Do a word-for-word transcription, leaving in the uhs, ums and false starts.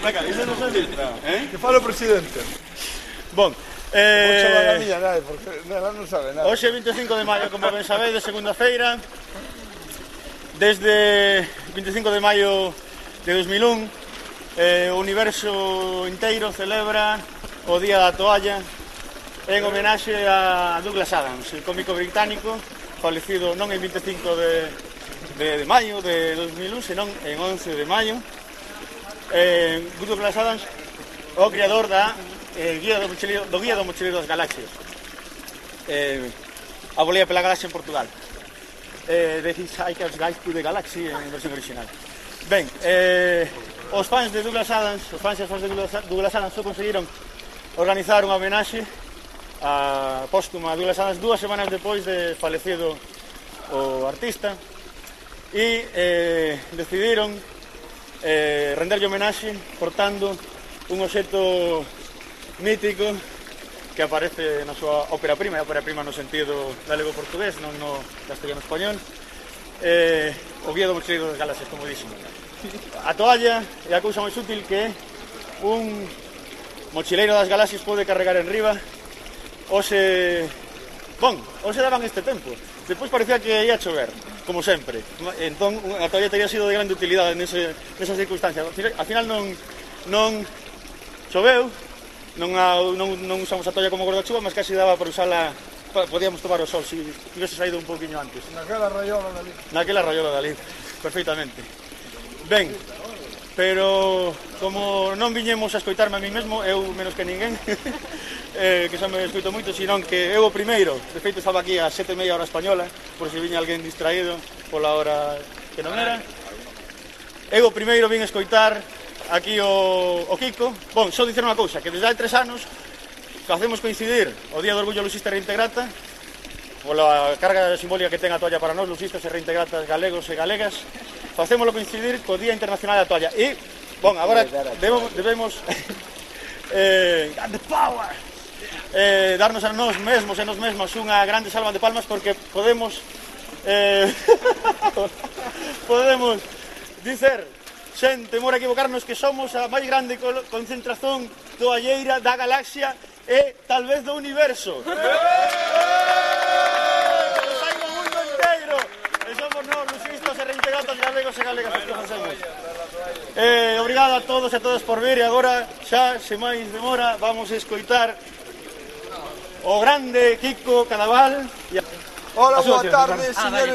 Venga, iso non sei dito. Que fala o presidente. Bon, Vou chamar a eh... miña nai, porque ela non sabe nada. Hoxe vinte e cinco de maio, como ben sabedes, segunda-feira. Desde vinte e cinco de maio de dos mil un, eh, o universo inteiro celebra o Día da Toalla en homenaxe a Douglas Adams, el cómico británico falecido non en vinte e cinco de, de, de maio de dos mil un, senón en once de maio. eh, Douglas Adams, o creador da eh, guía do, mochileiro, do Guía do Mochileiro das Galaxias, eh, a volea pela galaxia en Portugal. eh, The Hitchhiker's Guide to the Galaxy en versión original. Ben, eh, os fans de Douglas Adams, os fans e as fans de Douglas, Douglas Adams só conseguiron organizar unha homenaxe a póstuma a Douglas Adams dúas semanas depois de falecido o artista, e eh, decidiron eh, renderlle homenaxe portando un obxecto mítico que aparece na súa ópera prima, e ópera prima no sentido galego-portugués, non no castellano-español, eh, o Guía do Mochileiro das Galaxias, como dixen. A toalla é a cousa máis útil que un mochileiro das galaxias pode carregar en riba. Ose... Bon, ose daban este tempo. Despois parecía que ia chover, como sempre. Entón, a toalla teria sido de grande utilidade nese, nesa circunstancia. Al final non, non choveu, non, a, non, non usamos a toalla como guardachuva, mas casi daba para usala, podíamos tomar o sol se tivese saído un pouquiño antes. Naquela rayola dali. Naquela rayola dali, perfectamente. Ben, pero como non viñemos a escoitarme a mí mesmo, eu menos que ninguén, eh, que xa me escoito moito, senón que eu o primeiro, de feito estaba aquí a sete e media hora española, por se viña alguén distraído pola hora que non era. Eu o primeiro vin escoitar aquí o, o Kiko. Bon, só dicer unha cousa, que desde hai tres anos facemos coincidir o Día do Orgullo Luxista e Reintegrata pola carga simbólica que ten a toalla para nós, luxistas e reintegratas galegos e galegas. Facémolo coincidir co Día Internacional da Toalla. E, bon, agora debemos, debemos eh, the power, eh, darnos a nós mesmos e nós mesmos unha grande salva de palmas, porque podemos eh, podemos dicer sen temor a equivocarnos que somos a máis grande concentración toalleira da galaxia e tal vez do universo. Saiba o mundo inteiro e somos nós, luxistas e reintegratas galegos e galegas os que facemos. Eh, obrigado a todos e a todas por vir, e agora xa, se máis demora, vamos a escoitar o grande Kiko Cadaval. Hola, boa tarde, señores.